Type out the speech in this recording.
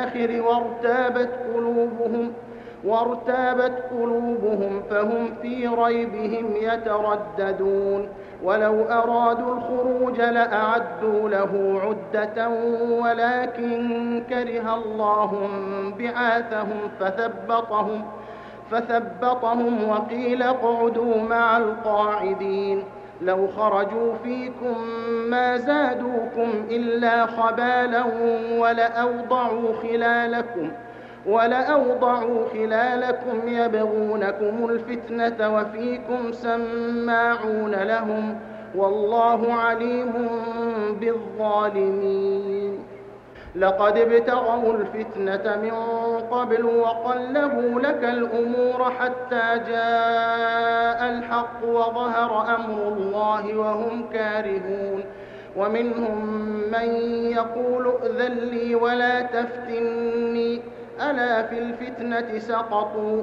الآخر وارتابت قلوبهم فهم في ريبهم يترددون ولو أرادوا الخروج لأعدوا له عدة ولكن كره الله بعاثهم فثبطهم وقيل اقعدوا مع القاعدين لو خرجوا فيكم ما زادوكم إلا خبالا ولأوضعوا خلالكم يبغونكم الفتنة وفيكم سماعون لهم والله عليم بالظالمين لقد ابتغوا الفتنة من قبل وقلبوا لك الأمور حتى جاء الحق وظهر أمر الله وهم كارهون ومنهم من يقول ائذن لي ولا تفتني ألا في الفتنة سقطوا